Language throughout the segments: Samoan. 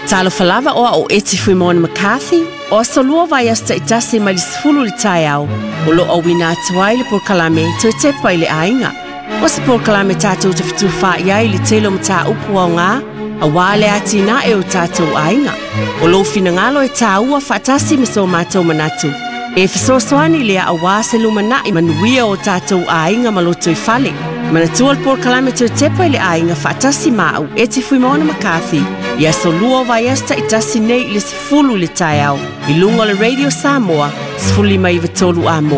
Talofa lava o au o Eti Fuimaono McCarthy, o aso lua o vaiaso taitasi mai le 10 i le taeao, o lo o auina atu ai le polokalame Toe Tepa i le Aiga. O se polokalame tatou te fetufaai ai i le tele o mataupu aoga aua le atinae o tatou aiga. O lou finagalo e tāua faatasi ma so matou manatu. E fesoasoani lea aua se lumanai manuia o tatou aiga ma lotoifale. Manatua le polokalame Toe Tepa i le Aiga faatasi ma au Eti Fuimaono McCarthy i aso lua o vaiaso taitasi nei i le 10 i le taeao i luga o le Radio Samoa 1593 AM.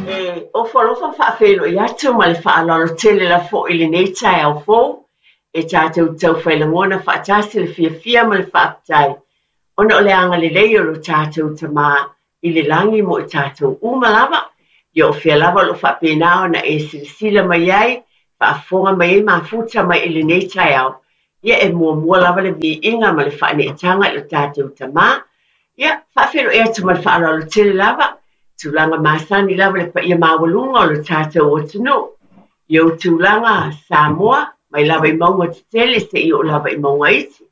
E ofo alofa ma faafeiloai atu ma le faaaloalo tele lava foi i lenei taeao fou e tatou taufai lagona faatasi le fiafia ma le faafetai ona o le agalelei o lo tatou Tama i le lagi mo i tatou uma lava. Ia o fea lava o lo o faapena ona e silasila mai ai, faafofoga mai ai, mafuta mai i lenei taeao, ia e muamua lava le viiga ma le faaneetaga i lo tatou Tama. Ia, faafeiloai atu ma le faaaloalo tele lava, tulaga masani lava le paia maualuga o lo tatou atunuu. I ou tulaga Samoa, mai lava i mauga tetele seia oo lava i mauga iti,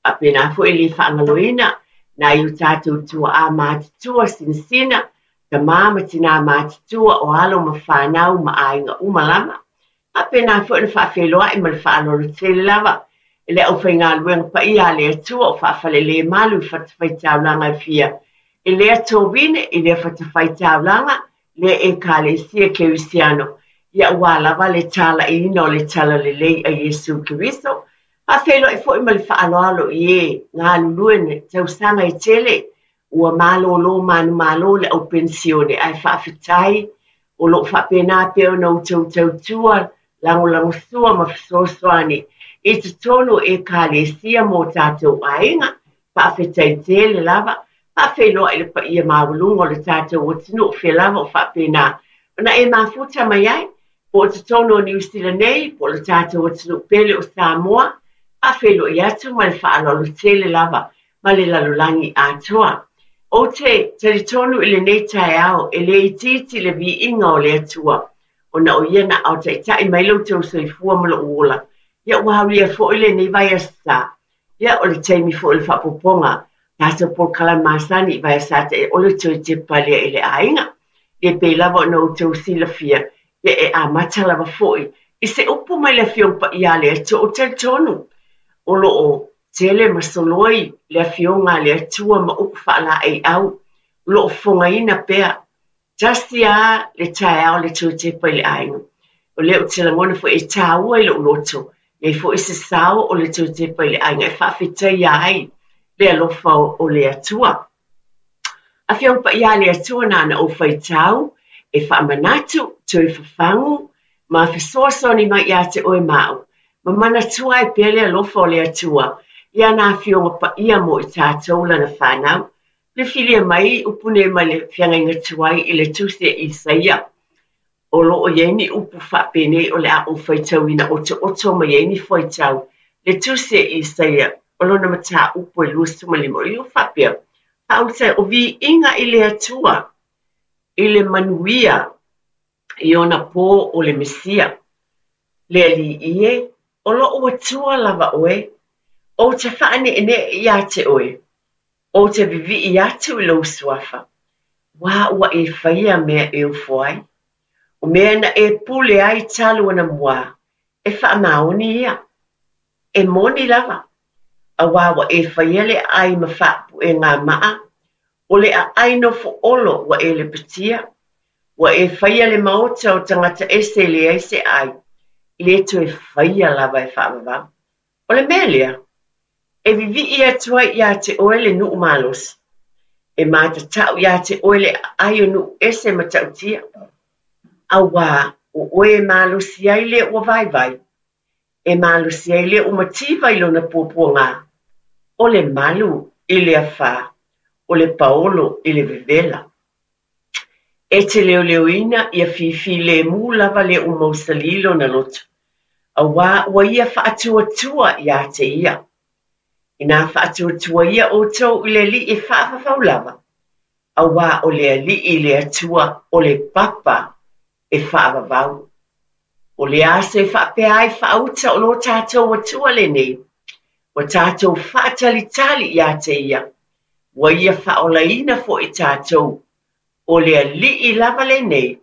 Faapena foi e le faagaloina nai o tatou tuaa matutua sinasina, tama ma tinā matutua o alo ma fanau ma aiga uma lava. Faapena foi ona faafeiloai ma le faaaloalo tele lava i le aufaigaluega paia a le Atua o faafalelemalu i fatafaitaulaga e fia i lea tovine, i lea fatafaitaulaga, lea Ekalesia Kerisiano, ia aua lava le talaiina o le Talalelei a Iesu Keriso. Faafeiloai foi ma le faaaloalo i e galulue i tausaga e tele ua malolo manumalo le au penisione ae faafetai o lo o faapena pea ona outou tautua lagolagosua ma fesoasoani i totonu o Ekalesia ma o tatou aiga. Faafetai tele lava. Faafeiloai i le paia maualuga o le tatou atunuu o fea lava o faapena ona e mafuta mai ai, po o totonu o Niu Sila nei, po o le tatou atunuu pele o Samoa. Faafeiloai atu ma le faaaloalo tele lava ma le lalolagi atoa. Ou te talitonu i lenei taeao e le itiiti le viiga o le Atua, ona o Ia na aotaitai mai lo outou soifua ma lou ola. Ia ua aulia foi lenei vaiaso sa. Ia, o le taimi foi o le faaopoopoga, tatou polokalame masani i vaiaso sa e o le toe tepa lea i le aiga. Ia pei lava ona outou silafia, ia e amata lava foi i se upu mai le Afioga Paia a le Atua. Ou te talitonu o lo o tele ma soloi le Afioga a le Atua ma upu faalaeiau, o lo o fofogaina pea Tasi a le taeao le toe tepa i le aiga. O lea ou te lagona foi e tāua i lou loto, nei foi se sao o le toe tepa i le aiga e faafetaia ai le alofa o le Atua. Afioga Paia a le Atua na ona ou faitau e faamanatu, toe fafagu ma fesoasoani mai ia te oe ma au, ma manatua ai pea le alofa o le Atua i ana Afioga Paia mo i tatou lana fanau. Filifilia mai upu nei mai le feagaiga tuai i le Tusi a Isaia, o lo o i ai ni upu faapenei o le a ou faitauina otooto mai ai ni fuaitau. Le Tusi a Isaia, o lona mataupu e 25, o ia faapea, Faaulutai o viiga i le Atua i le manuia i ona pō o le Mesia. Le Alii e, o lou Atua lava oe, ou te faaneenee ia te oe, Ou te vivii atu i lou suafa, uā ua e faia mea e ofo ai. O mea na e pule ai talu anamuā, e faamaoni ia. E moni lava, auā ua e faia le aai ma faapuʻe ngamaʻa, o le aai nofo olo ua e lepetia. Ua e faia le maota o tagata ese e leai se aai, e le toe faia lava e faavavau. O le mea lea, e vivii atu ai ia te oe le nuu malosi, e matatau ia te oe le aai o nuu ese matautia, auā o oe e malosi ai le ua vaivai, e malosi ai le ua mativa i lona puapuagā, o le malu i le afā, o le paolo i le vevela. E te leoleoina ia fifilemu lava le ua mausalī lona loto, auā ua ia faatuatua iā te ia. Inā faatuatuaia ʻoutou i le Alii e faavavau lava, auā o le Alii i le Atua o le papa e faavavau. O le aso e faapea ai faauta o lo tatou Atua lenei. Ua tatou faatalitali iā te Ia, ua Ia faaolaina foi tatou. O le Alii lava lenei,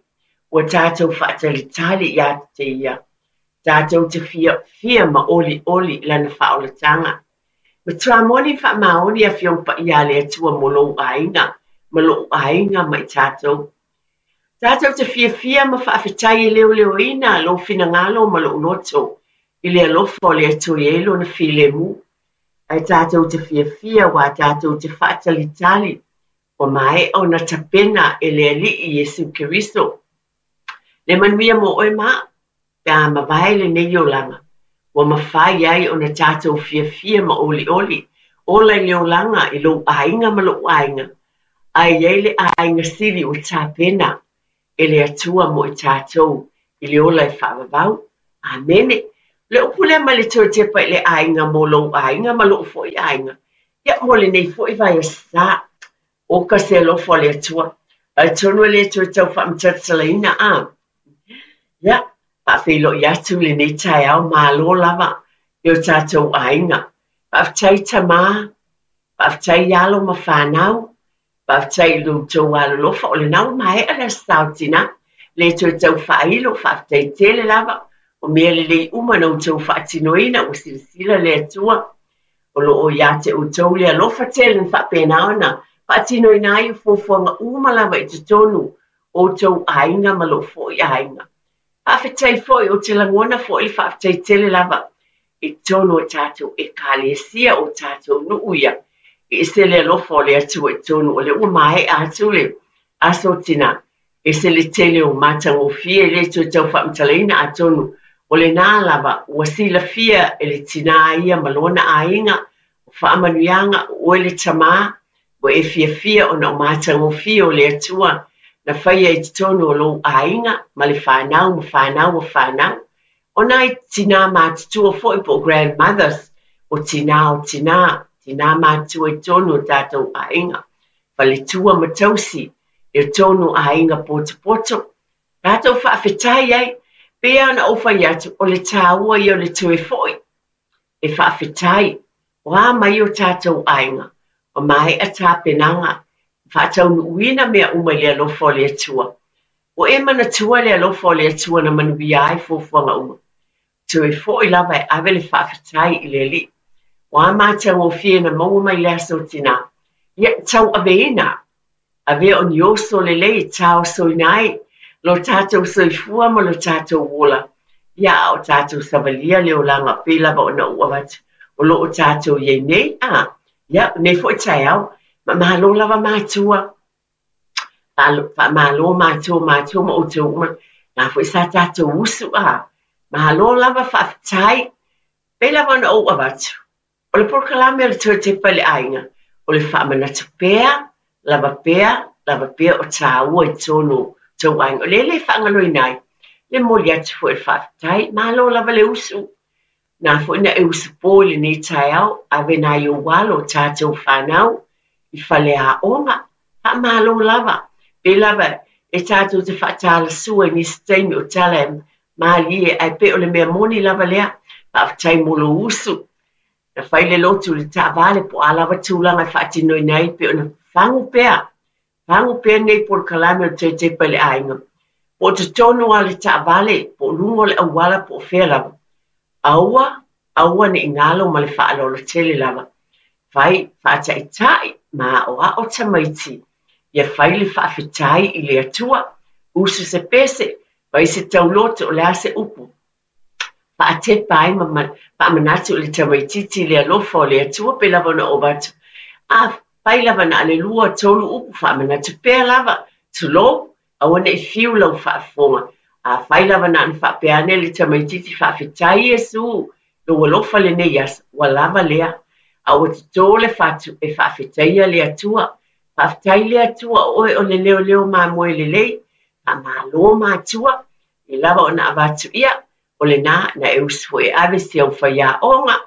ua tatou faatalitali iā te Ia, tatou te fiafia ma olioli i Lana faaolataga. Matua moni ma faamaoni Afioga Paia a le Atua mo lou aiga ma lo'u aiga ma i tatou. Tatou te fiafia ma faafetai e leoleoina lou finagalo ma lou loto i le alofa o le Atua e i ai lona filemu. Ae tatou te fiafia aua tatou te faatalitali ua maea ona tapena e le Alii Iesu Keriso le manuia mo oe ma au pe a mavae lenei olaga, ua mafai ai ona tatou fiafia ma olioli, ola i le olaga i lou aiga ma lou aiga, ae i ai le aiga sili ua tapena e le Atua mo i tatou i le ola e faavavau. Amene. O le upu lea mai le Toetepa i le aiga mo lou aiga ma lou foi aiga, ia mo lenei foi vaiaso sa. Oka se alofa o le Atua. Atonu e le toe tau faamatalatalaina, a? Ia, faafeiloai atu lenei taeao, malo lava i o tatou aiga. Faafetai tama, faafetai alo ma fanau, faafetai i lo outou alolofa, o lena ua maea le Aso Sa o Tina, le toe tau faailo, faafetai tele lava, o mea lelei uma na outou faatinoina, ua silasila le Atua, o lo o ia te outou le alofa tele na faapena ona faatinoina ai fuafuaga uma lava i totonu o outou aiga ma lou foi aiga. Faafetai foi, ou te lagona foi le faafetai tele lava i totonu o tatou Ekalesia, o tatou nuu ia, e ese le alofa o le Atua i totonu, o lea ua maea atu le Aso Tina, ese le tele o matagofie e le toe tau faamatalaina, atonu o lena lava ua silafia e le tinā ia ma lona aiga, o faamanuiaga, o oe le tamā, ua e fiafia ona o matagofie o le Atua na faia i totonu o lou aiga ma le fanau ma fanau a fanau. O nai tinā matutua foi po o grandmothers, o tinā o tinā, tinā matutua i totonu o tatou aiga, faletua ma tausi i totonu o aiga potopoto. Tatou faafetai ai, pei lava ona ou fai atu, o le tāua ia o le toe foi e faafetai, o a mai o tatou aiga, ua maea tapenaga, faataunuuina mea uma i le alofa o le Atua. Ua e manatua le alofa o le Atua na manuia ai fuafuaga uma. Toe foi lava e ave le faafetai i le Alii. O a matagofie na maua mai le Aso Tina, ia tauaveina. Avea o ni oso lelei e taosoina ai lo tatou soifua ma lo tatou ola, ia a o tatou savalia le olaga pei lava ona ou avatu o lo o tatou i ai nei, a, ia, lenei foi taeao, ma malo lava matua. Faamalo matua, matua ma outou uma, na foi sa tatou usu, a, malo lava faafetai, pei lava ona ou avatu. O le polokalame o le Toetepa i le Aiga, o le faamanatu pea, lava pea, lava pea o tāua i totonu o tou aiga. O lea e le faagaloina ai le momoli atu foi o le faafetai. Malo lava le usu. Na foi na e usu po i lenei taeao, ave nai ou alo o tatou fanau i faleaoga. Faamalo lava. Pei lava e tatou te faatalasua i nisi taimi o tala e malie, ae pei o le mea moni lava lea. Faafetai mo lou usu. Na fai le lotu i le taavale po o a lava tulaga e faatinoina ai pei ona fagu pea, fagu pea lenei polokalame o le Toetepa i le Aiga. Po o totonu lava o le taavale, po o luga o le auala, po o fea lava. Aua, aua ne i galo ma le faaaloalo tele lava. Fai, faataitai ma aoao tamaiti ia fai le faafetai i le Atua, usu se pese, fai se tauloto, o le a se upu. Faatepa ai ma faamanatu i le tamaitiiti i le alofa o le Atua pei lava ona ou avatu. Afai lava na o le 2, 3 upu, faamanatu pea lava, tulou, aua ne i fiu lau faafofoga. Afai lava na ona faapea ane le tamaitiiti, faafetai Iesu, lou alofa lenei aso, ua lava lea. A ua toto le fatu e faafetaia le Atua. Faafetai le Atua o oe o le leoleo mamoe lelei. Faamalo matua, e lava ona avatu ia, o lena na e usu foi e ave si au faiaoga,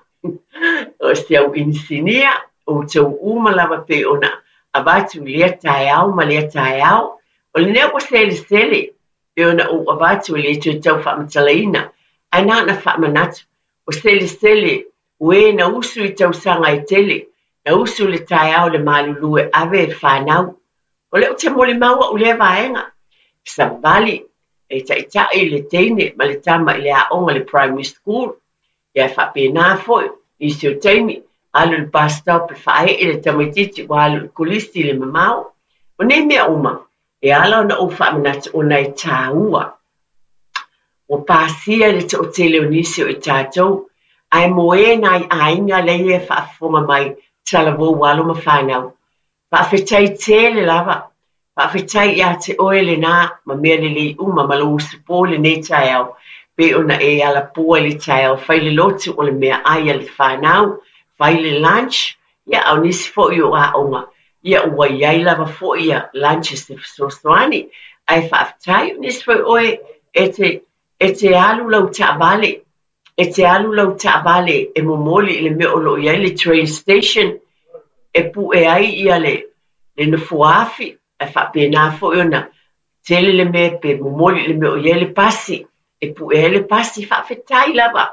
o si au inisinia, outou uma lava pei ona avatu i lea taeao ma lea taeao. O lenei ua selesele, pei ona ou avatu e le toe tau faamatalaina, ae na ona faamanatu, o selesele O e na usu i tausaga e tele, na usu i le taeao i le malulu e ave e fanau. O lea ou te molimau au i lea vaega. Savali e taitai le teine ma le tama i le aoga i le primary school. Ia e faapena foi, nisi o taimi, alu i le bus stop e faaee le tamaitiiti ua alu i le kolisi i le mamao. O nei mea uma, e ala ona ou faamanatu ona e taua. Ua pasia i le toatele o nisi o i tatou, ae mo e nai aiga lea e faafofoga mai talavou alo ma fanau. Faafetai tele lava. Faafetai ia te oe lena ma mea lelei uma ma lou usupo i lenei taeao, pei ona e alapoa i le taeao, fai le lotu o le meaai a le fanau, fai le lunch, ia a o nisi foi o aoga, ia ua i ai lava foi ia lunches e fesoasoani. Ae faafetai, o nisi foi oe e te, e te alu lau taavale, e te alu lau taavale e momoli i le mea o lo o i ai le train station e pue ai ia le, le nofoa afi, ae faapena foi ona tele le mea pe momoli i le mea o i ai le pasi, e pue ai le pasi, faafetai lava.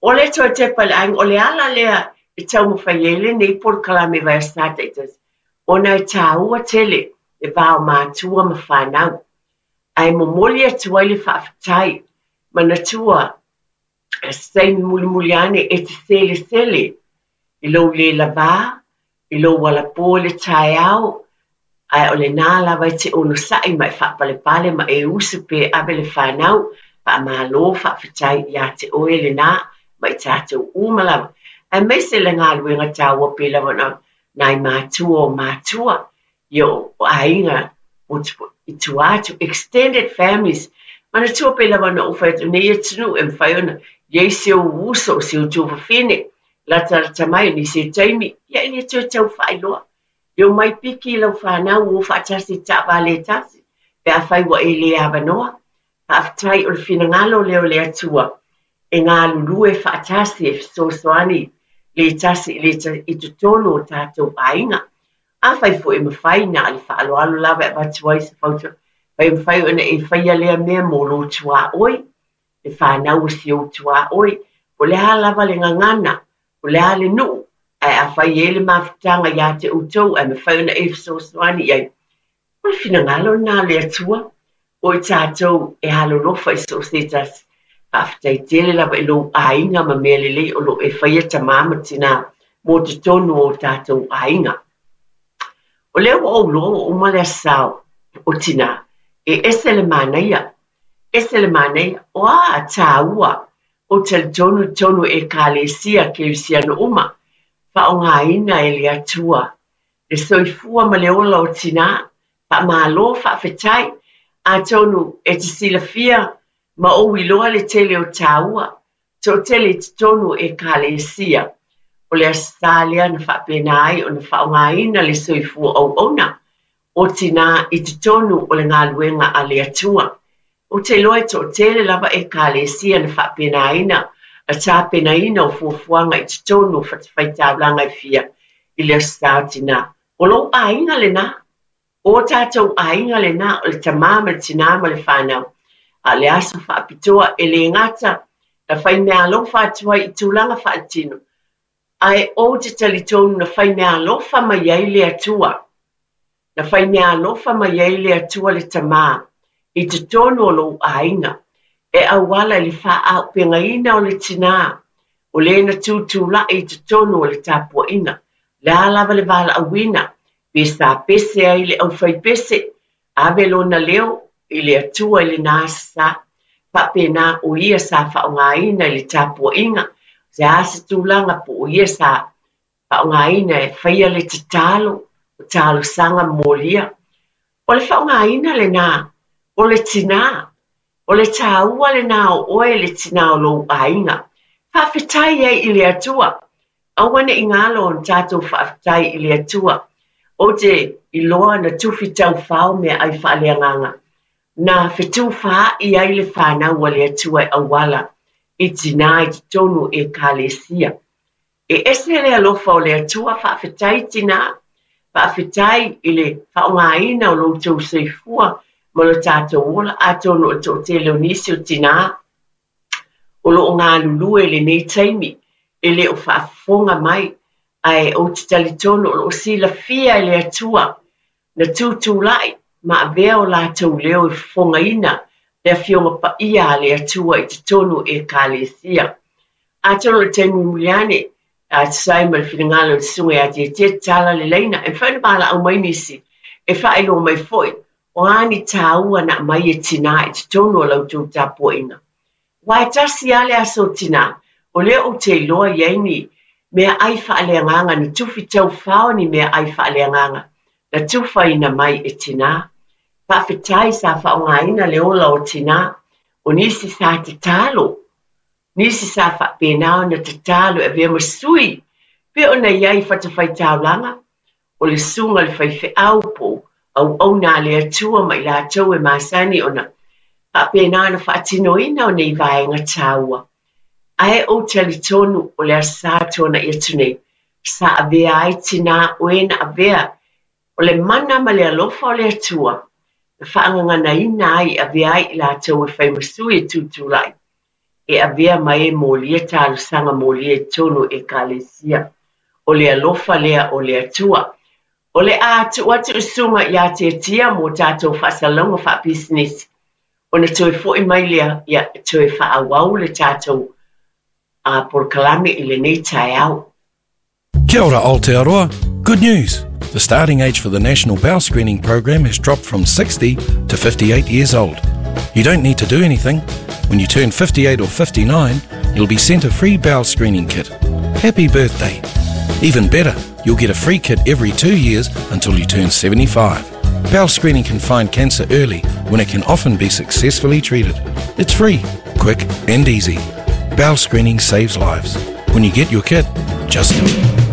O le toe tepa i le aiga, o le ala lea e taumafai ai lenei polokalame Vaiaso Taitasi, ona e taua tele le va o matua ma fanau. Ae momoli atu ai le faafetai, manatua se taimi mulimuli ane e te selesele i lou le lavā, i lou alapo i le taeao, ae o lena lava e te onosai ma e faapalepale ma e usu pe ave le fanau, faamalo faafetai ia te oe lena ma i tatou uma lava. Aemaise le galuega taua pei lava ona nai matua o matua, ia o aiga i tua atu, extended families. Manatua pei lava ona ou fai atu, nei atunuu e mafai ona i ai si ou uso, si ou tuafafine, latalata mai o nisi o taimi, ia e le toe tau faailoa. E omai piki i lau fanau o faatasi i taavale e tasi, pe afai ua e le avanoa. Faafetai o le finagalo lea o le Atua e galulue faatasi e fesoasoani le tasi i le tasi i totonu o tatou aiga. Afai foi e mafai na o le faaaloalo lava e avatu ai se fautuaga, pe mafai ona e faia lea mea mo lou tuaoi, le fanau o si ou tuaoi, po o le a lava le gagana, po o le a le nuu, ae afai e i ai le mafutaga ia te outou ae mafai ona e fesoasoani i ai, o le finagalo lena o le Atua, o i tatou e alolofa i so o se tasi. Faafetai tele lava i lou aiga ma mea lelei o lo o e faia tamā ma tinā mo totonu o tatou aiga. O lea ua ou iloa ua uma le Aso Sa o Tinā, e ese le manaia, ese le manaia, o a tāua, ou talitonu i totonu o Ekalesia Kerisiano uma, faaaogaina e le Atua le soifua ma le ola o tinā, faamalo, faafetai. Atonu e te silafia ma ou iloa le tele o tāua, toatele i totonu o Ekalesia, o le Aso Sa lea na faapena ai ona faaaogaina le soifua auauna o tinā i totonu o le galuega a le Atua. Ou te iloa e toatele lava Ekalesia na faapenaina le tapenaina o fuafuaga i totonu o fatafaitaulaga e fia i le Aso Sa o Tinā. O lou aiga lena. O tatou aiga lena, o le tamā ma le tinā ma le fanau. A o le aso faapitoa e le gata na faimeaalofa atu ai i tulaga faaletino, ae ou te talitonu na faimeaalofa mai ai le Atua. Na faimeaalofa mai ai le Atua le Tamā i totonu o lou aiga, e auala i le faaaupegaina o le tinā, o le na tutulai i totonu o le tapuaiga. O le a lava le valaauina, pe sa pese ai le aufaipese, ave lona leo i le Atua i lena aso sa. Faapena o ia sa faaaogaina i le tapuaiga, o se a se tulaga po o ia sa faaaogaina e faia le tatalo, o talosaga molia. O le faaaogaina lena o le tinā, o le taua lena o oe le tinā o lou aiga. Faafetai ai i le Atua. Aua ne i galo ona tatou faafetai i le Atua. Ou te iloa na tufi taufao meaai faaleagaga, na fetufaai ai le fanau a le Atua e auala i tinā i totonu o Ekalesia. E ese le alofa o le Atua, faafetai tinā, faafetai i le faaaogaina o lo outou soifua ma lo tatou ola, atonu o le toatele o nisi o tinā o lo o galulue i lenei taimi e le o faafofoga mai, ae ou te talitonu o lo o silafia e le Atua na tutulai ma avea o latou leo e fofogaina le Afioga Paia a le Atua i totonu o Ekalesia. Atonu o le taimi mulimuli ane, a tusa ai ma le finagalo o le Susuga ia Tietie tatala le laina, e mafai ona valaau mai nisi e faailoa mai foi o a ni taua na aumai e tinā i totonu o la outou tapuaiga. Aua e tasi lava le aso o tinā, o lea ou te iloa i ai ni meaai faaleagaga na tufi taufao ni meaai faaleagaga na tufaina mai e tinā. Faafetai sa faaaogaina le ola o tinā, o nisi sa tatalo, nisi sa faapena ona tatalo e avea ma sui, pei ona i ai i fatafaitaulaga, o le susuga i le faifeau po o auauna a le Atua ma i latou e masani ona faapena ona faatinoina o nei vaega taua. Ae ou talitonu o le Aso Sa tuanai atu nei, sa avea ai tinā o e na avea o le mana ma le alofa o le Atua na faagaganaina ai e avea ai i latou e fai ma sui e tutulai e avea ma e molia talosaga molia i totonu o Ekalesia. O le alofa lea o le Atua. O le a tuu atu i le susuga ia Tiatia mo tatou faasalalauga faapisinisi, ona toe foi mai lea ia toe faaauau le tatou polokalame i lenei taeao. Kia ora Aotearoa! Good news! The starting age for the National Bowel Screening Program has dropped from 60 to 58 years old. You don't need to do anything. When you turn 58 or 59, you'll be sent a free bowel screening kit. Happy birthday! Even better, you'll get a free kit every 2 years until you turn 75. Bowel screening can find cancer early when it can often be successfully treated. It's free, quick and easy. Bowel screening saves lives. When you get your kit, just do it.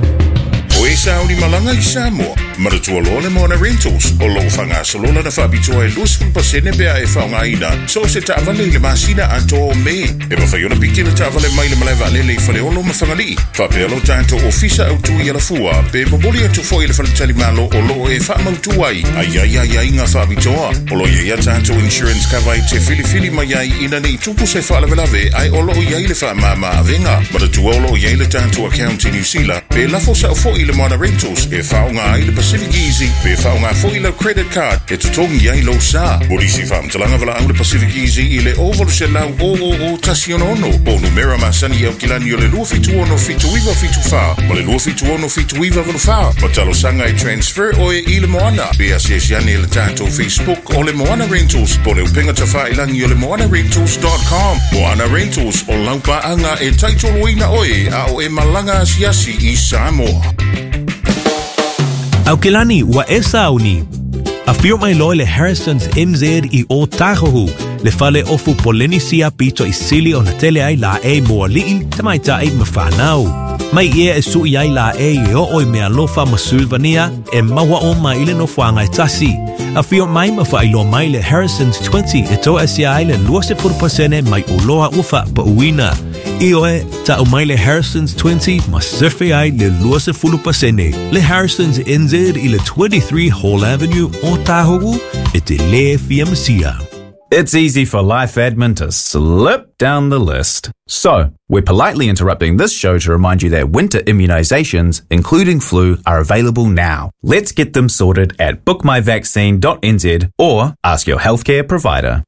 O e sauni malaga i Samoa, manatua loa le Moana Rentals o lo o faagasolo lana faapitoa e 20% pe a e faaaogaina so o se taavale i le masina atoa o Me. E mafai ona piki le taavale mai le malae vaalele i Faleolo ma Fagalii, faapea lo tatou ofisa autu i Alafua, pe momoli atu foi i le faletalimalo o lo o e faamautu ai a i ai aiaiga faapitoa. O lo o i ai a tatou insurance cover e te filifili mai ai ina ne i tupu se faalavelave ae o lo o i ai le faamama avega. Manatua o lo o i ai le tatou account i Niu Sila, pe lafo sao foi i le Moana Rentals e faaaoga ai le Pacific Easy pe faaaoga foi lau credit card e totogi ai lou sa. Mo nisi faamatalaga valaau le Pacific Easy i le 0800 000 166 po o numera masani i Aukilani o le 276 7974 ma le 276 7984 ma talosaga e transfer oe i le Moana. Pe asiasi ane i le tatou Facebook o le Moana Rentals po o le upega tafailangi o le moanarentals.com. Moana Rentals, o lau paaga e taitoloina oe a o e malaga asiasi i Samoa. Aukilani, ua e sauni. Afio mai loa le Harrison's NZ i Ōtāhuhu, le fale ofu Polenisia pito i sili ona tele ai laʻei mo aliʻi, tamaitai ma whānau. Mai ia e suʻi ai laʻei e oo i mealofa ma Sulvania e maua uma i le nofoaga e tasi. Afio mai ma faailoa mai le Harrison's 20 e toaesia ai le 20% mai oloa ua faapauina. Ioe, ta'u mai le Harrison's 20 ma sefe ai le 20%. Le Harrison's NZ i le 23 Hall Avenue, Ōtāhuhu, e te lē fia masia. It's easy for life admin to slip down the list. So, we're politely interrupting this show to remind you that winter immunizations, including flu, are available now. Let's get them sorted at bookmyvaccine.nz or ask your healthcare provider.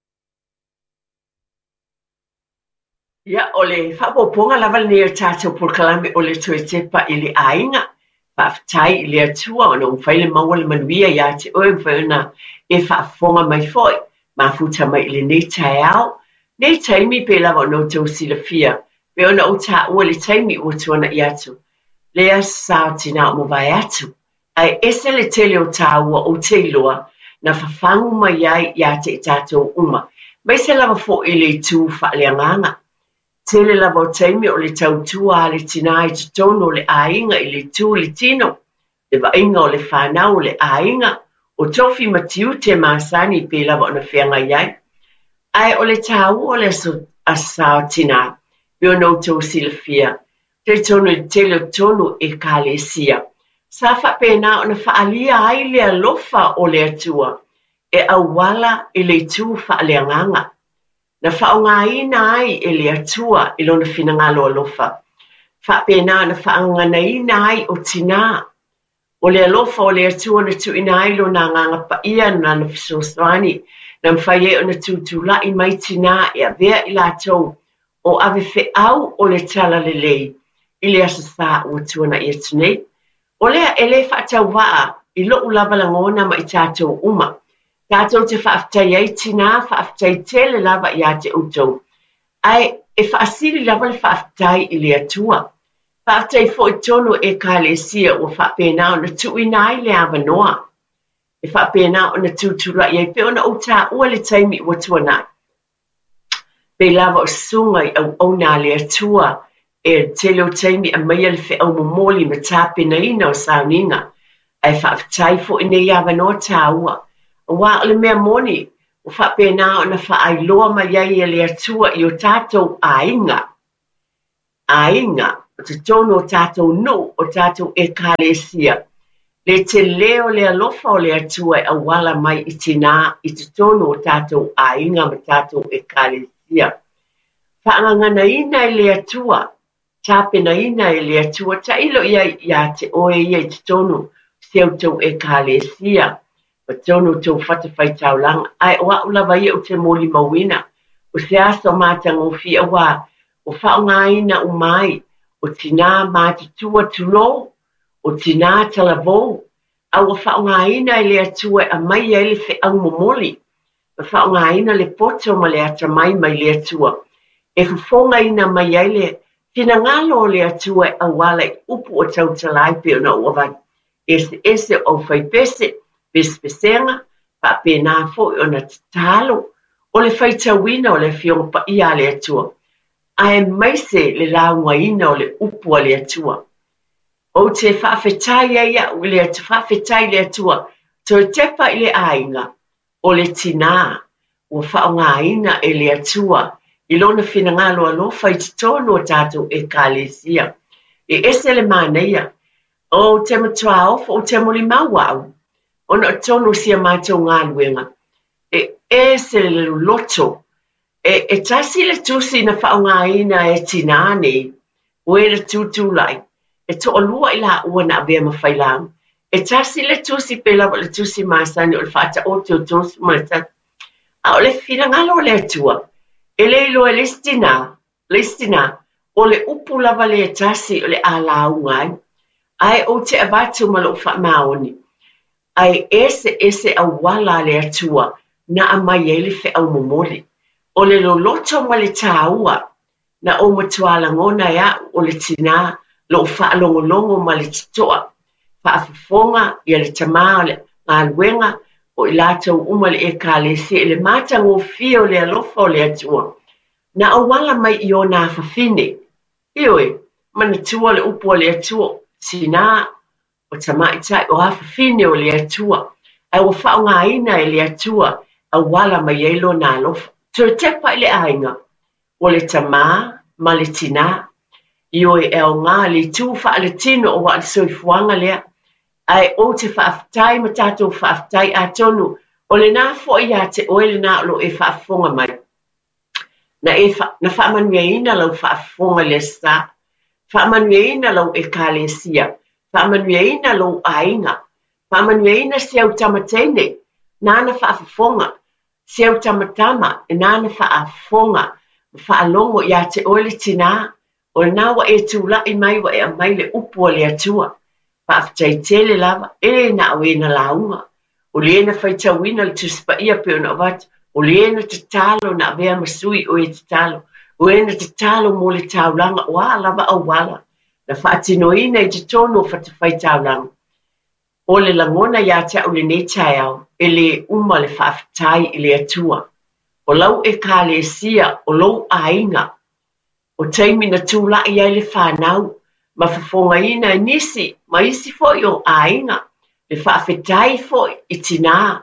Ia, o le faaopoopoga lava lenei o le tatou polokalame o le toe tepa i le aiga. Faafetai i le Atua ona ua mafai le maua le manuia ia te oe, mafai ona e faafofoga mai foi, mafuta mai i lenei taeao, nei taimi pei lava ona outou silafia, pei ona ou taua i le taimi ua tuanai atu, le Aso Sa o Tinā o mavae atu. Ae ese le tele o tāua ou te iloa na fafagu mai ai ia te i tatou uma, maise lava foi i le itu faaleagaga. Tele lava o taimi o le tautua a le tinā i totonu o le aiga i le itu i le tino, le vaaiga o le fanau o le aiga, o tofi ma tiute masani pei lava ona feagai ai. Ae o le tāua o le aso Sa o Tinā, pei ona outou silafia, Talitonu i le tele o tonu Ekalesia, sa faapena ona faaalia ai le alofa o le Atua e auala i le itu faaleagaga, na faaaogaina ai e le Atua i Lona finagalo alofa. Faapena ona faagaganaina ai o tinā. O le alofa o le Atua na tuuina ai Lona Agaga Paia ma Lana fesoasoani, na mafai ai ona tutulai mai tinā e avea i latou o ave feau o le Talalelei i le Aso Sa ua tuanai atu nei. O lea e le faatauvaa i lo'u lava lagona ma i tatou uma. Tatou te faafetai ai tinā, faafetai tele lava iā te outou. Ae e faasili lava le faafetai i le Atua. Faafetai foi tonu Ekalesia ua faapena ona tuuina ai le avanoa e faapena ona tutulai ai pei ona ou taua le taimi ua tuanai. Pei lava o susuga i auauna a le Atua e tele o taimi aumaia le feau momoli ma tapenaina o sauniga. Ae faafetai foi nei avanoa taua, aua o le mea moni ua faapena ona faailoa mai ai e le Atua i o tatou aiga. Aiga, o totonu o tatou nuu, o tatou Ekalesia, le tele o le alofa o le Atua e auala mai i tinā i totonu o tatou aiga ma tatou Ekalesia. Faagaganaina e le Atua, tapenaina e le Atua, tailo i ai iā te oe ia i totonu o si a outou Ekalesia, ma totonu o tou fatafaitaulaga, ae o a'u lava ia ou te molimauina, o se aso matagofie auā ua faaaogaina uma ai o tinā matutua tulou, o tinā talavou, a ua faaaogaina e le Atua e aumai ai le feau momoli, ma faaaogaina le poto ma le atamai mai le Atua, e fofogaina mai ai le finagalo o le Atua e auala i upu o tautala ai pei ona ou avatu eseese o aufaipese, pesepesega, faapena foi ona tatalo o le faitauina o le Afioga Paia a le Atua, aemaise le laugaina o le upu a le Atua. Ou te faafetai ai au i le Atua, faafetai i le Atua, toe tepa i le aiga, o le tinā ua faaaogaina e le Atua i Lona finagalo alofa i totonu o tatou Ekalesia. E ese le manaia. Ou te matua ofo, ou te molimau au, ona o totonu o si a matou galuega, e ese le loloto E, e tasi le tusi na faaaogaina e tinā nei, o e na tutulai, e toalua i laua na avea ma failauga. E tasi le tusi pei lava o le tusi masani o le faataoto o 31. A o le finagalo o le Atua, e le iloa e le isi tinā, le isi tinā, o le upu lava lea e tasi o le a lauga ai. Ae ou te avatu ma lou faamaoni, ae eseese auala a le Atua na aumai ai le feau momoli. O le loloto ma le tāua na ou matua lagona e a'u o le tinā lou faalogologo ma le totoa, faafofoga ia le tamā o le galuega o i latou uma le Ekalesia i le matagofie o le alofa o le Atua na auala mai i ona afafine. Ioe, manatua le upu a le Atua, tinā, o tamaitai, o afafine o le Atua, ae ua faaaogaina e le Atua auala mai ai Lona alofa. Toe tepa i le aiga, o le tamā ma le tinā. Ioe, e aoga le itu faaletino aua o le soifuaga lea. Ae ou te faafetai ma tatou faafetai atonu o lena foi ia te oe lena o lo o e faafofoga mai. Na e na faamanuiaina lau faafofoga i le Aso Sa, faamanuiaina lau Ekalesia, faamanuiaina lou aiga, faamanuiaina si au tama teine nāna faafofoga, si au tama tama nāna faafofoga ma faalogo ia te oe le tinā, O lena ua e tulai mai ua e aumai le upu a le Atua. Faafetai tele lava, e le na o e na lauga, o le na faitauina le Tusi Paia pei ona avatu, o le na tatalo na avea ma sui o e tatalo, o e na tatalo mo le taulaga, o a lava auala na faatinoina i totonu o fatafaitaulaga. O le lagona ia te au lenei taeao, e le uma le faafetai i le Atua. O lau Ekalesia, o lou aiga, O taimi na tulai ai le fanau ma fofogaina e nisi ma isi foi o aiga le faafetai foi i tinā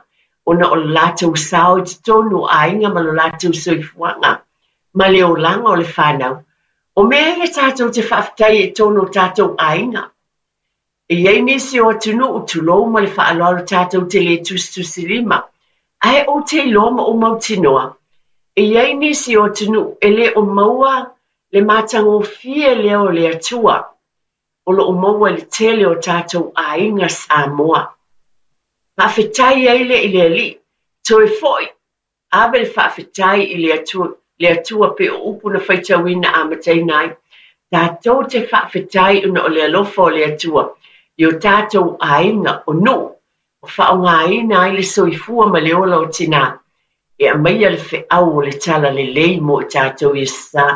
ona o le latou sao i totonu o aiga ma lo latou soifuaga ma le olaga o le fanau. O mea ia tatou te faafetai ai i totonu o tatou aiga. E i ai nisi o atunuu, tulou ma le faaaloalo tatou te le tusitusilima, ae ou te iloa ma ou mautinoa, e i ai nisi o atunuu e le o maua Le matagofie lea o le Atua o lo o maua i le tele o tatou aiga Samoa. Faafetai ai lea i le Alii, toe foi, ave le faafetai i le Atua, le Atua pei o upu na faitauina amataina ai. Tatou te faafetai ona o le alofa o le Atua i o tatou aiga o nuu o faaaogaina ai le soifua ma le ola o tinā e aumaia le feau o le talalelei mo i tatou i Aso Sa.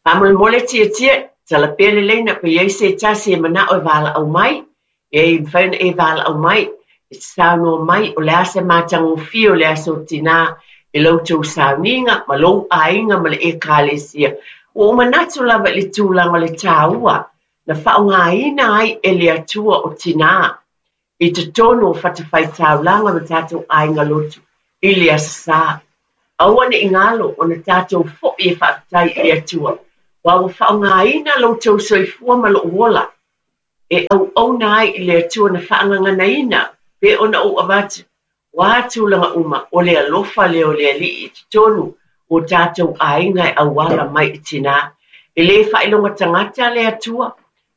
Faamolemole tietie, tala pea le leina pe i ai se tasi e manao e valaau mai, e mafai ona e valaau mai, e te saunoa mai o le a se matagofie o le aso tinā i la outou sauniga ma lou aiga ma le Ekalesia. Ua ou manatu lava i le tulaga o le taua na faaaogaina ai e le Atua o tinā i totonu o fatafaitaulaga ma tatou aiga lotu i le Aso Sa. Aua ne i galo ona tatou foi e faafetai i le Atua, aua ua faaaogaina lo outou soifua ma lou ola e auauna ai i le Atua na faagaganaina pei ona ou avatu O a tulaga uma, o le alofa lea o le Alii i totonu o tatou aiga e auala mai i tinā. E le faailoga tagata le Atua,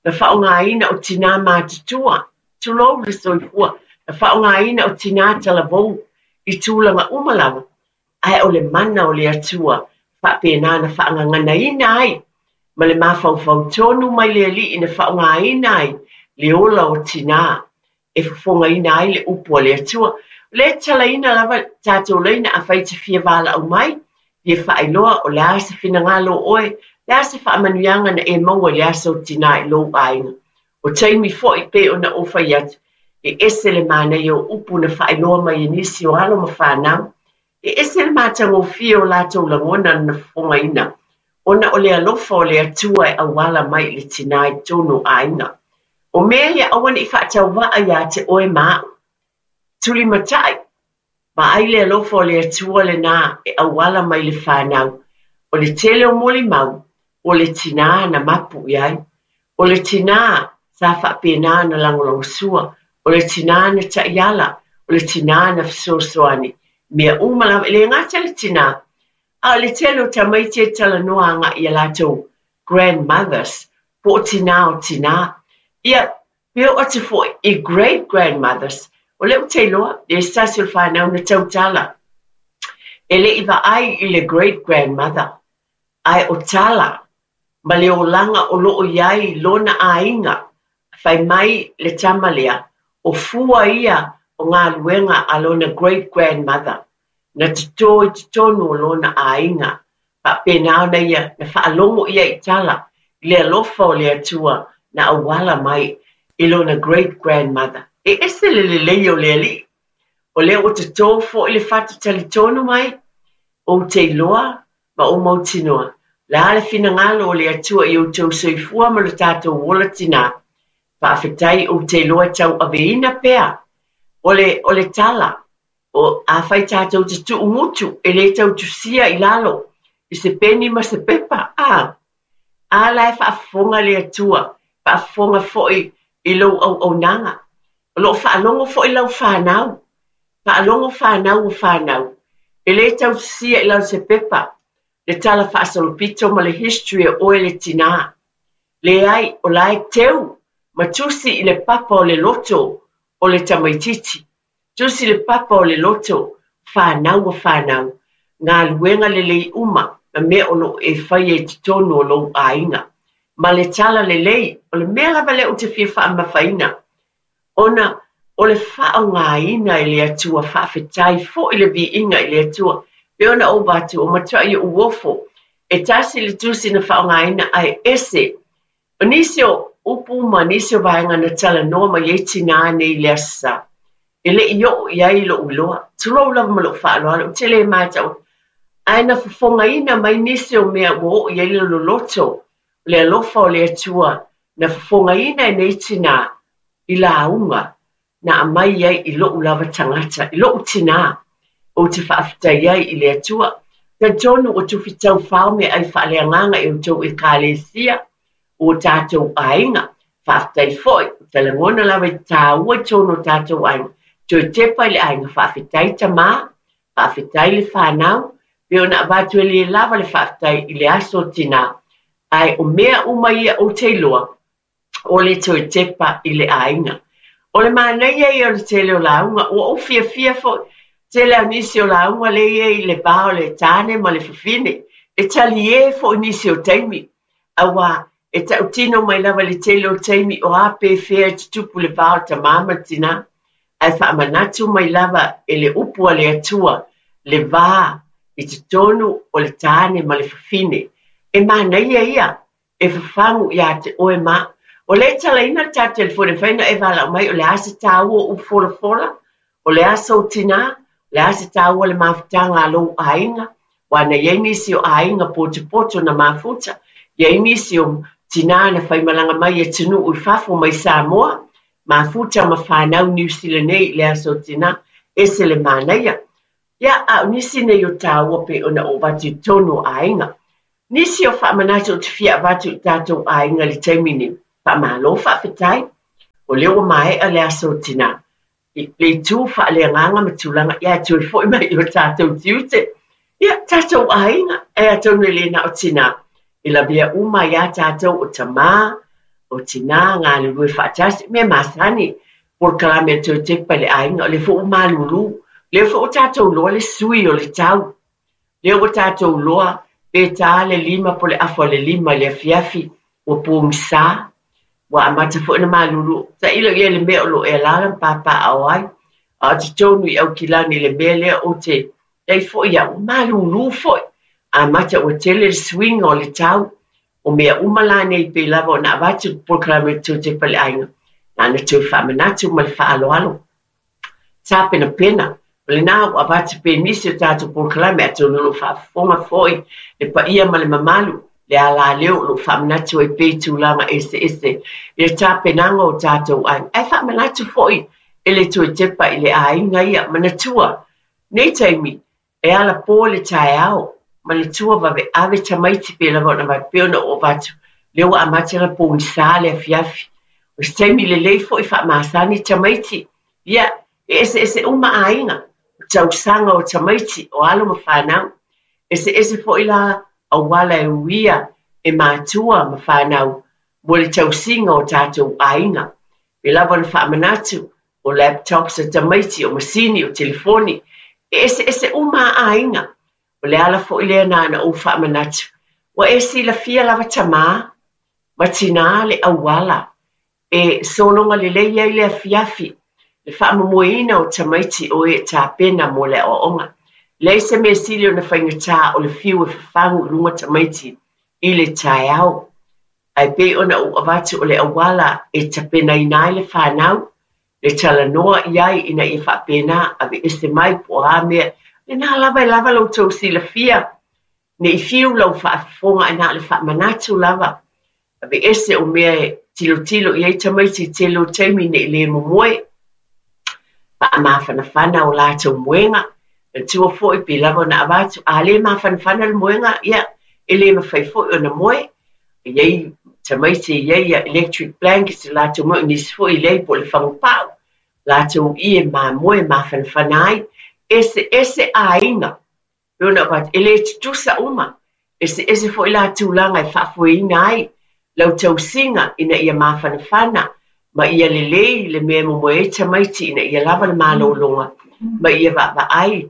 na faaaogaina o tinā matutua, tulou le soifua, na faaaogaina o tinā talavou i tulaga uma lava, ae o le mana o le Atua faapena na faagaganaina ai ma le mafaufau tonu mai le Alii na faaaogaina ai le ola o tinā e fofogaina ai le upu a le Atua. O lea e tatalaina lava tatou laina afai e te fia valaau mai, fia faailoa o le a se finagalo o oe, le a se faamanuiaga na e maua i le aso tinā i lou aiga. O taimi foi pei ona ou fai atu, e ese le manaia o upu na faailoa mai e nisi o alo ma fanau. E ese le matagofie o latou lagona na fofogaina, ona o le alofa o le Atua e auala mai i le tinā i totonu o aiga. O mea ia aua ne i faatauvaa iā te oe ma a'u. Tulimatai, vaai le alofa o le Atua lenā e auala mai i le fanau. O le tele o molimau, o le tinā na mapu i ai. O le tinā sa faapena ona lagolagosua, o le tinā na taiala, o le tinā na fesoasoani. Mea uma lava, e le gata i le tinā, a o le tele o tamaiti e talanoa agai i a latou grandmothers, po o tinā o tinā. Ia, pe oo atu foi i great grandmothers, o lea ou te iloa, e se tasi o le fanau na tautala, e le i vaai i le great grandmother, ae o tala ma le olaga o lo o i ai lona aiga, fai mai le tama lea, o fua ia o galuega a lona great grandmother, na totō i totonu o lona aiga, faapena ona ia na faalogo ia i tala i le alofa o le Atua na auala mai i lona great grandmother. E ese le lelei o le Alii. O lea ua totō foi le fatu talitonu mai, ou te iloa ma ou mautinoa, le a le finagalo o le Atua i outou soifua ma lo tatou ola tinā. Faafetai ou te iloa e tauaveina pea o le, o le tala O, afai tatou te tuu gutu, e le tau tusia i lalo i se peni ma se pepa, a? A la e faafofoga le Atua, faafofoga foi i lou auaunaga. O lo o faalogo foi lau fanau, faalogo fanau o fanau. E le tau tusia i lalo se pepa le tala faasolopito ma le history o oe le tinā. Leai, o la e teu ma tusi i le papa o le loto o le tamaitiiti. Tusi le papa o le loto, fanau a fanau, galuega lelei uma ma mea o lo o e faia i totonu o lou aiga. Ma le tala lelei, o le mea lava lea ou te fia faamamafaina, ona o le faaaogaina e le Atua, faafetai foi le viiga i le Atua, pei ona ou avatu, o matuai ou ofo, e tasi le tusi na faaaogaina ae ese O nisi o upu ma nisi o vaega na talanoa mai ai tinā nei i le Aso Sa, e le i oo i ai lou iloa, tulou lava ma lou faaaloalo, ou te le matau, ae na fofogaina mai nisi o mea ua oo i ai le loloto o le alofa o le Atua na fofogaina e nei tinā i lauga na aumai ai i lou lava tagata, i lou tinā, ou te faafetai ai i le Atua. Talitonu ua tufi taufao meaai faaleagaga i outou Ekalesia, o tatou aiga. Faafetai foi, ou te lagona lava i te tāua i totonu o tatou aiga. Toe tepa i le aiga, faafetai tamā, faafetai le fanau, Pei ona avatu e le lava le faafetai i le aso o tinā, ae o mea uma ia ou te iloa, o le toe tepa i le aiga. O le manaia ia o le tele o lauga, ua ou fiafia foi, tele a nisi o lauga lea e i ai i le va o le tane ma le fafine, e talie foi nisi o taimi, auā e tautino mai lava i le tele o taimi o a pe fea e tutupu le va o le tamā ma le tinā, ae faamanatu mai lava e le upu a le Atua le va i totonu o le tane ma le fafine. E manaia ia e fafagu iā te oe ma au. O lea e talaina le tatou telefoni e mafai ona e valaau mai o le a se taua o upu folafola, o le aso o tinā, o le a se taua o le mafutaga a lou aiga, aua na i ai nisi o aiga potopoto na mafuta, i ai nisi o tinā na faimalaga mai i atunuu i fafo mai Samoa, mafuta ma fanau Niu Sila nei i le aso o tinā, ese le manaia. Ia, a o nisi nei o taua pei ona ou avatu i totonu o aiga. Nisi o faamanatu ou te fia avatu i tatou aiga i le taimi nei, faamalo faafetai, o lea ua maea le aso o tinā. I le itu faaleagaga ma tulaga, ia e toe foi mai i o tatou tiute. Ia, tatou aiga, e atonu e le na o tinā, e lavea uma ai a tatou o tamā, o tinā, galulue faatasi, mea masani, polokalame a le toe tepa i le aiga, o lea foi ua malūlū, lea foi ua tatou iloa le sui o le tau. Lea ua tatou iloa pe ta le lima po le afa o le lima i le afiafi, ua pogisa, ua amata foi ona malulu. Tailo i ai i le mea o lo o e alaala ma papaaao ai, a o totonu i Aukilani i le mea lea ou te ai foi au, ua malulu foi, amata ua tele le suiga o le tau. O mea uma la nei pei lava ona avatu le polokalame o le Toetepa i le Aiga, na ona toe faamanatu ma le faaaloalo. Tapenapena, o lena ua avatu pea nisi o tatou polokalame atonu o lo o faafofoga foi le paia ma le mamalu, le alaleo o lo o faamanatu ai pea i tulaga eseese i le tapenaga o tatou aiga. Ae faamanatu foi e le toe tepa i le aiga ia, manatua nei taimi E ala pō le taeao, manatua vave ave tamaiti pe lava ona vave pea ona oo avatu, lea ua amata ona pogisa le afiafi. O se taimi lelei foi faamasani tamaiti, ia, e eseese uma aiga, o tausaga o tamaiti, o alo ma fanau. Eseese foi la auala e uia e matua ma fanau mo le tausiga o tatou aiga. Pe lava ona faamanatu, o laptops a tamaiti, o masini, o telefoni, e eseese uma a aiga. O le ala foi lea na ona ou faamanatu, ua e silafia lava tamā ma tinā le auala e sologa lelei ai le afiafi, le faamomoeina o tamaiti o e tapena mo le aoaoga. Leai se mea sili ona faigata o le fiu e fafagu i luga tamaiti i le taeao. Ae pei ona ou avatu o le auala e tapenaina ai le fanau, le talanoa i ai ina ia faapena, aveese mai po o a mea, lena lava e lava lo outou silafia, ne i fiu lau faafofoga ae na o le faamanatu lava, aveese o mea e tilotilo i ai tamaiti i tele o taimi ne i le momoe, faamafanafana o latou moega, manatua foi pei lava ona avatu, a le mafanafana le moega, ia, e le mafai foi ona moe, E i ai tamaiti e i ai ia electric blankets i latou moe, o nisi foi e leai po o le fagupa'u, latou ie mamoe mafanafana ai. Eseese aiga, pei ona avatu, e le tutusa uma. Eseese foi la tulaga e faafoeina ai lau tausiga ina ia mafanafana ma ia lelei le mea e momoe ai tamaiti ina ia lava le malologa ma ia vaavaai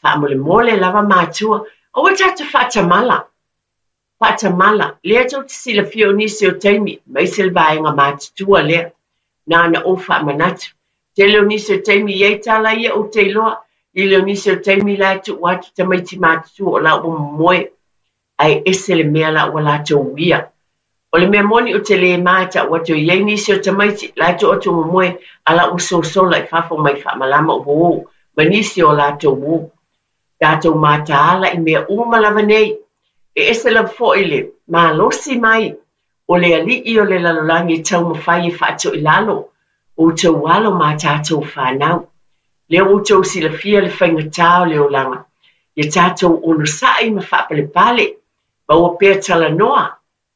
faamolemole lava matua. Aua tatou faatamala. Faatamala, lea tou te silafia o nisi o taimi, aemaise le vaega matutua lea, na ona ou faamanatu. Tele o nisi o taimi i ai tala ia ou te iloa, lili o nisi o taimi la e tuu atu tamaiti matutua o la ua momoe, ae ese le mea la ua latou uia. O le mea moni ou te le ma e tau atu e i ai nisi o tamaiti la e tuu atu momoe a la ua sosola i fafo mai faamalama uo ma nisi o latou uo. Tatou mataala i mea uma lava nei. E ese lava foi le malosi mai o le Alii o le lalolagi e taumafai e faatoilalo outou alo ma tatou fanau. Lea ua outou silafia le faigata o le olaga, ia tatou onosai ma faapalepale, maua pea talanoa,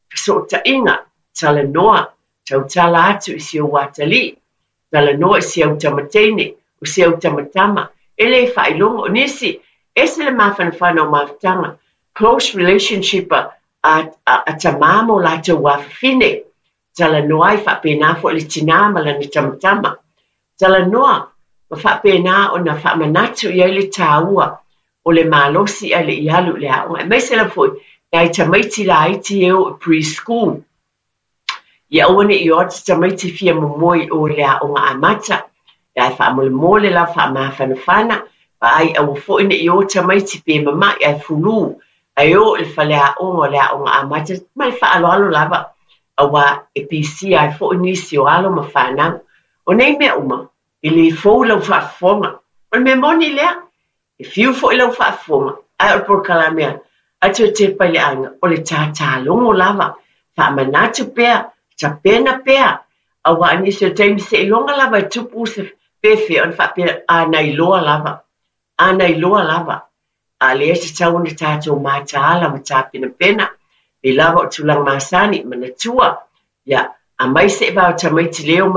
fesootaiga, talanoa, tautala atu i si ou atalii, talanoa i si au tama teine, o si au tama tama, e le faailoga. O nisi, Ese le mafanafana o mafutaga, close relationship a a tamā ma o latou afafine, talanoa ai faapena foi le tinā ma lana tamatama. Talanoa ma faapena ona faamanatu i ai le tāua o le malosi ae le i alu i le aoga. Aemaise lava foi nai tamaiti laiti e o i pre-school. Ia aua ne i o atu tamaiti fia momoe i o i le aoga amata. Ae faamolemole lava faamafanafana, vaai aua foi ne i o tamaiti pe mama'i ae fulu, ae o i le faleaoga o le aoga amata ma le faaaloalo lava, auā e pisia ai foi nisi o alo ma fanau. O nei mea uma, e le fou i lau faafofoga. O le mea moni lea, e fiu foi lau faafofoga, ae o le polokalame a Toe Tepa i le Aiga, o le tatalogo lava, faamanatu pea, tapena pea, auā o nisi o taimi seiloga lava e tupu se fefe ona faapea, a na iloa lava, a na iloa lava. A o lea e tatau ona tatou mataala ma tapenapena, pei lava o tulaga masani, manatua, ia, aumai seevao tamaiti le omai.